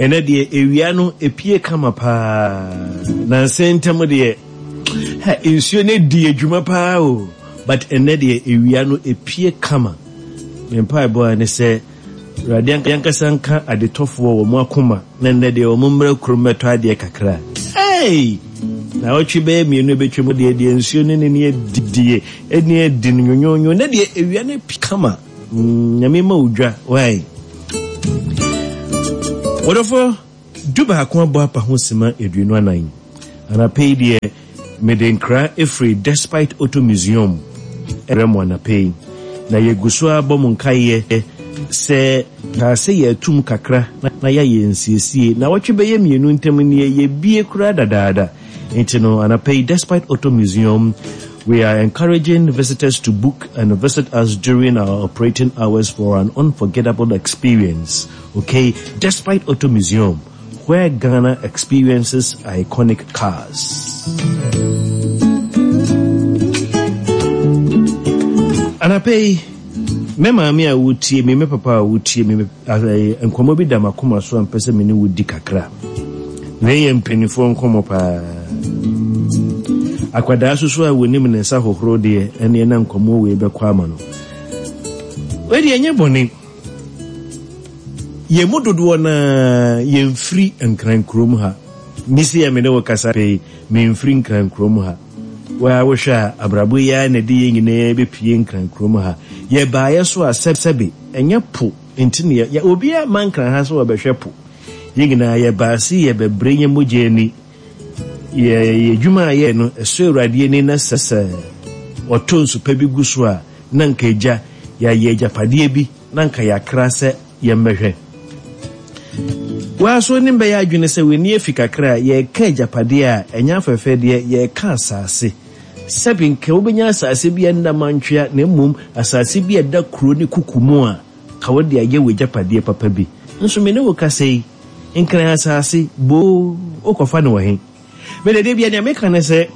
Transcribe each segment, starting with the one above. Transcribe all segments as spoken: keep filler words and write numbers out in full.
Ɛnɛ deɛ ewia no epie kama paa. Nansa ntam deɛ ha nsuo no di adwuma paa o. But ɛnɛ deɛ ewia no epie kama. Me mpaebɔ a ne sɛ Awurade ankasa nka adetɔfoɔ wɔ mo akoma na nnɛ deɛ wɔn mmerɛ kurom mɛtɔ adeɛ kakra. Hey! Na ɔtwe bɛyɛ mmienu ebɛtwa mu deɛ deɛ nsuo no ne ne adidie ɛne adi no nyonyonyo na deɛ ewia no pie kama. Mm, Nyame ma odwa. Why? Wɔdɔfo du baako abɔ apa ho sima aduonu anan. Anapa yi deɛ mede nkra efiri Despite Auto Museum ɛrɛ mo anapa yi. Na yɛgu so abɔ mo nkaeɛ sɛ kaa sɛ yɛatum kakra na yɛayɛ nsiesie na wɔtwe bɛyɛ mmienu ntam nie yɛbie koraa dadaada. Nti no anapa yi Despite Auto Museum we are encouraging visitors to book and visit us during our operating hours for an unforgettable experience. Okay, Despite Auto Museum, where Ghana experiences iconic cars. Anapa yi, me maame a wotie me, me papa a wotie me, nkɔmmɔ bi da m'akoma so a mpɛ sɛ me ne wo di kakra. Wei yɛ mpanimfoɔ nkɔmmɔ paa. Akwadaa soso a wɔnim ne nsa hohoro deɛ ɛne ɛna nkɔmmɔ wei bɛkɔ ama no. Wei deɛ ɛnyɛ bɔne. Yɛn mu dodoɔ naa yɛmfiri Nkran kurom ha. Misi yɛ me ne wo kasa pɛi, memfiri Nkran kurom ha. Waa wohwɛ a abrabɔ yi ara na ɛde yɛn nyinaa bɛpie Nkran kurom ha. Yɛbaeɛ so a sɛbsɛbe ɛnyɛ po nti ne yɛ obiara ma Nkran ha sɛ wɔbɛhwɛ po. Yɛn nyinaa yɛbaa se yɛbɛbrɛ yɛn mogya ani. Yɛ yɛ adwuma a yɛyɛ no ɛsɔ Awurade ani na sɛ sɛ ɔtɔ nsu pa bi gu so a na nka agya yɛayɛ agyapadeɛ bi na nka yɛakra sɛ yɛmmɛhwɛ. Waa so nim bɛyɛ adwene sɛ w'ani afi kakra a yɛreka agyapadeɛ a ɛnyɛ afɛfɛ deɛ yɛreka asase. Sɛbi nka wobɛnya asase bi a nna mantwea na mmom asase bi a ɛda kuro ne kuku mu a ka wode ayɛ w'agyapadeɛ papa bi. Nso me ne wo kasa yi, Nkran asase boo wokɔfa no wɔ he? Mede de bia nea meka ne sɛ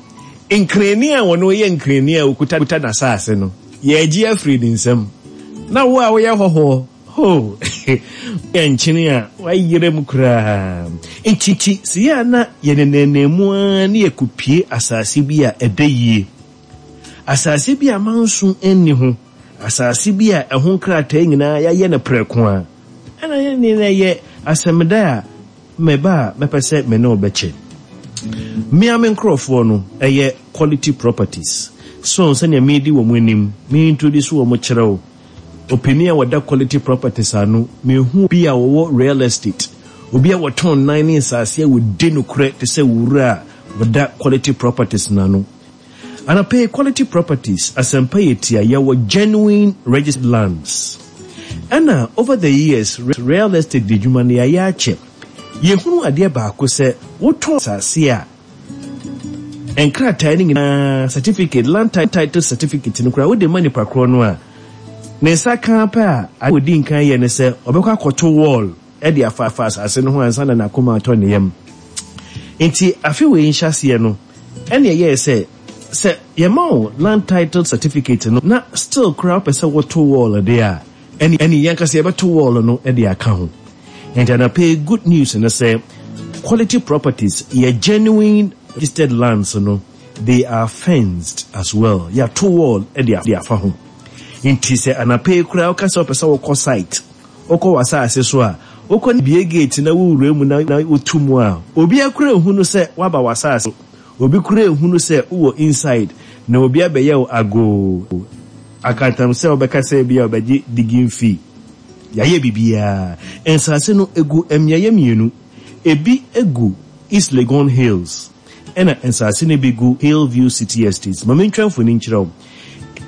nkrani a wɔno yɛ nkrani a okuta kuta n'asase no yɛagye afiri ne nsam. Na wo a woyɛ hɔhoɔ ho yɛ nkyene a wayerɛ mu koraa. Nti sɛ yɛ a na yɛnenam mu ara ne yɛkɔpie asase bi a ɛda yie. Asase bi a manso nni ho. Asase bi a ɛho nkrataa nyinaa yɛayɛ no prɛko a. Ɛna yɛn ne na ɛyɛ asɛmda a mɛba a mɛpɛ sɛ me ne wo bɛkyɛ. Mmea me nkurɔfoɔ no ɛyɛ Quality Properties. So sɛnea meedi wɔn anim, me introduce wɔn kyerɛ wo. Ɔpanin a wɔda Quality Properties ano, mehu bi a wɔwɔ real estate. Obi a wɔtɔn nan ne nsase a wɔdi nokorɛ te sɛ wura a wɔda Quality Properties n'ano. Anapɛ Quality Properties asɛmpa yɛ tia yɛwɔ genuine registered lands. Ɛna over the years real estate de dwuma no yɛayɛ akyɛ. Yɛhunu adeɛ baako sɛ wotɔn asase a nkrataa no nyinaa certificate land title certificate no koraa wode ma nipa korɔ no a ne nsa ka pɛ a ade odi nkan yɛ ne sɛ ɔbɛkɔ akɔto wall ɛde afa afa asase no ho ansa na n'akoma atɔ ne yam. Nti afe wei nhyɛaseɛ no ɛne ɛyɛɛ sɛ sɛ yɛma wo land title certificate no na still koraa wopɛ sɛ woto wall deɛ a ɛne ɛne yɛn kasa yɛbɛto wall no de aka ho. Nti anapɛ good news no sɛ Quality Properties yɛ genuine registered lands no they are fenced as well. Yɛato wall de afa ho. Nti sɛ anapɛ koraa woka sɛ wopɛ sɛ wokɔ site wokɔ w'asase so a wokɔ bie gate na wowura mu na wotu mu a obi akora ehunu sɛ woaba w'asase obi kura ehunu sɛ wowɔ inside na obi abɛyɛ wo agoo akantam sɛ wobɛka sɛ bi a wobɛgye digging fee. Yɛayɛ biribiara. Nsase no egu mmeaeɛ mmienu. Ebi egu East Legon Hills ɛna nsase no bi gu Hillview City Estates. Ma mentwa mfoni nkyerɛ wo.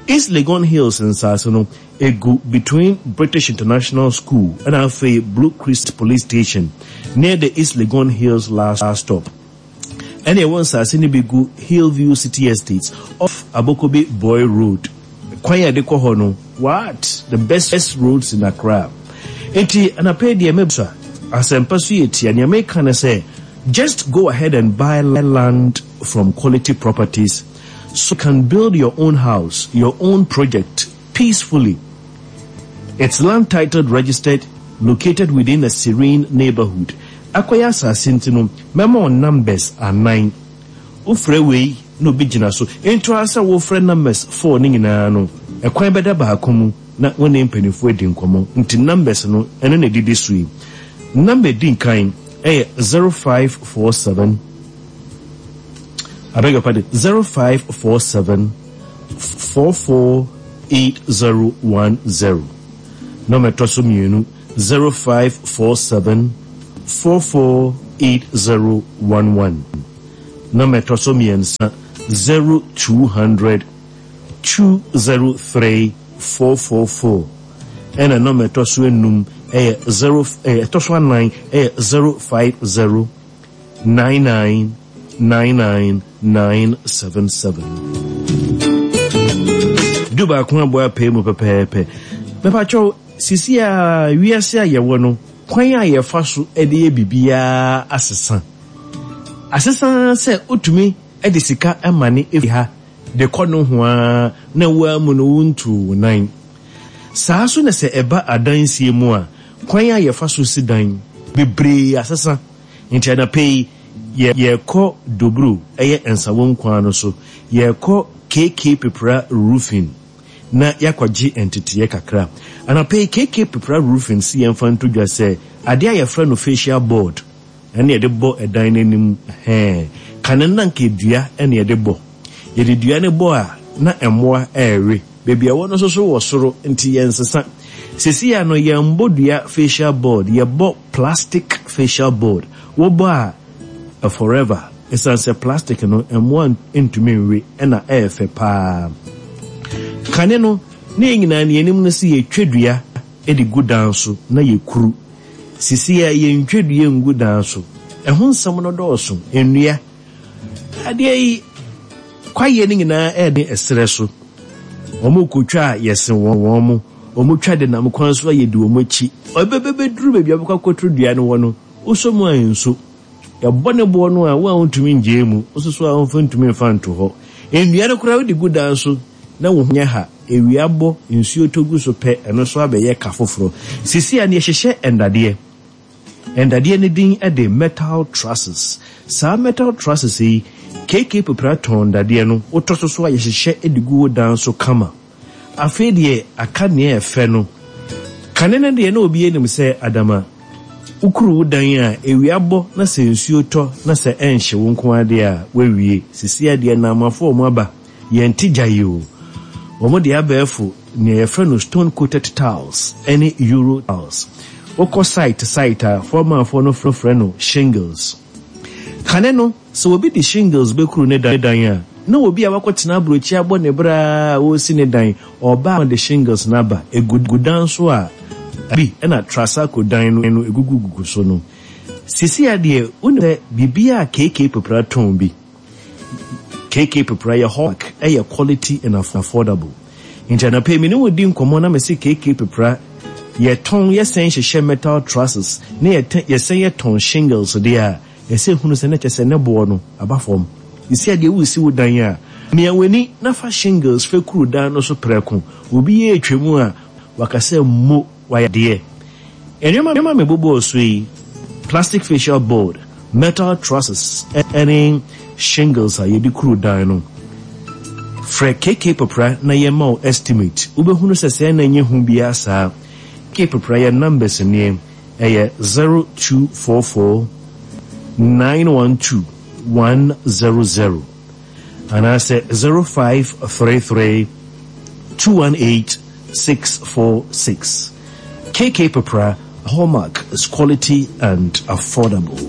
East Legon Hills nsase no egu between British International School ɛna afei Blue Crest Police Station near the East Legon Hills last stop. Ɛna ɛwɔ nsase no bi gu Hillview City Estates off Abokobi Boy Road. Kwan a yɛde kɔ hɔ no, what? The best, best roads in Accra. Nti anapɛ deɛ mɛbusa asɛmpa so yɛ tia nea meka ne sɛ just go ahead and buy land from Quality Properties so you can build your own house, your own project peacefully. It's land titled registered, located within a serene neighborhood. Akɔyɛ asase nti no, mɛma wo numbers anan. Wofrɛ wei na obi gyina so. Nto ara sɛ wofrɛ numbers four no nyinaa no, ɛkwan bɛda baako mu na wo ne mpanimfoɔ adi nkɔmmɔ. Nti numbers no, ɛno na ɛdidi so yi. Number di nkan ɛyɛ zero five four seven. I beg your pardon, zero five four seven four four eight zero one zero. Number ɛtɔ so mmienu zero five four seven four four eight zero one one. Number ɛtɔ so mmiɛnsa zero two hundred two zero three four four four. Ɛna number ɛtɔ so enum ɛyɛ zero ɛyɛ ɛtɔ so anan ɛyɛ zero five zero nine nine nine nine nine seven seven. Du baako aboa apɛ mu pɛpɛɛpɛ. Mɛpakyɛw sisi a wiase a yɛwɔ no kwan a yɛfa so de yɛ biribiara asesa. Asesa sɛ wotumi de sika ma ne efi ha de kɔ no ho a na woa mu no wontu wo nan. Saa so na sɛ ɛba adansie mu a kwan a yɛfa so si dan bebree asesa. Nti anapa yi yɛkɔ Dobro ɛyɛ Nsawam kwan no so yɛkɔ KK Pepra Roofing na yɛakɔgye nteteeɛ kakra. Anapa yi KK Pepra Roofing si yɛmfa nto dwa sɛ adeɛ a yɛfrɛ no fascia board ɛne yɛde bɔ ɛdan n'anim hɛn kane na nka dua ɛne yɛde bɔ. Yɛde dua no bɔ a na mmoa ɛrewe. Baabi a ɛwɔ no nso so wɔ soro nti yɛnsesa. Sisi a no yɛmbɔ dua fascia board, yɛbɔ plastic fascia board. Wobɔ a forever. Ɛsiane sɛ plastic no mmoa ntumi nwe ɛna ɛyɛ fɛ paa. Kane no ne yɛn nyinaa ne yɛnim no sɛ yɛtwa dua de gu dan so na yɛkuru. Sisi a yɛntwa dua ngu dan so. Ɛho nsɛm no dɔɔso. Nnua. Adeɛ yi kwaeɛ no nyinaa ɛyɛ ɛserɛ so. Wɔn kotwa a yɛse wɔn wɔn mo. Wɔn twa de nam kwan so a yɛdi wɔn akyi. Ɔbɛbɛbɛduru baabi a wɔbɛkɔ akɔturu dua no wɔ no, wosɔ mu a nso. Yɛbɔ ne boɔ no a wo a wontumi ngye mu, wososo so a womfa ntumi mfa nto hɔ. Nnua no koraa wode gu dan so na wo ho nyɛ ha. Ewia bɔ, nsuo tɔ gu so pɛ, ɛno nso abɛyɛ ka foforɔ. Sisi a ne yɛhyehyɛ ndadeɛ. Ndadeɛ no din de metal trusses. Saa metal trusses yi, KK Pepra tɔn ndadeɛ no, wotɔ so so a yɛhyehyɛ de gu wo dan so kama. Afei deɛ aka nea ɛfɛ no. Kane no deɛ na obi anim sɛ adama wokuru wo dan a ewia bɔ na sɛ nsuo tɔ na sɛ ɛnhye wo nko adeɛ a wawie. Sisi adeɛ namafo wɔn aba yɛn ti gya yi o. Wɔn de abɛɛfo nea yɛfrɛ no stone coated tiles ɛne euro tiles. Wokɔ site site a fɔmanfoɔ no frɛ no shingles. Kane no sɛ obi de shingles bɛkuru ne dan a na obi a wakɔtena aburokyi abɔ ne bra a wɔresi ne dan ɔbaa de shingles n'aba egu dan so a bi ɛna trasaco dan no no egugugugu so no. Sisi adeɛ wonim sɛ biribi a KK Pepra tɔn bi. KK Pepra yɛ hawk ɛyɛ quality and affordable. Nti anapa mi ne wo di nkɔmmɔ na mesi KK Pepra yɛtɔn yɛsɛn hyehyɛ metal trusses ne yɛsɛn yɛtɔn shingles deɛ a ɛsɛ hunu sɛ ne kyɛ sɛ ne boɔ no aba fam. Sisi adeɛ wusi wo dan a mia w'ani na fa shingles fɛ kuru dan no so prɛko. Obi yɛ etwa mu a wakasɛ mo wayɛ deɛ. Nneɛma nneɛma mi bobɔ so yi plastic fascia board, metal trusses ɛne shingles a yɛde kuru dan no. Frɛ KK Pepra na yɛma wo estimate. Wobɛhunu sɛ sɛ na nyɛ hu biara saa. KK Pepra yɛ numbers nie ɛyɛ zero two four four nine one two one zero zero anaasɛ zero five three three two one eight six four six. KK Pepra hallmark is quality and affordable.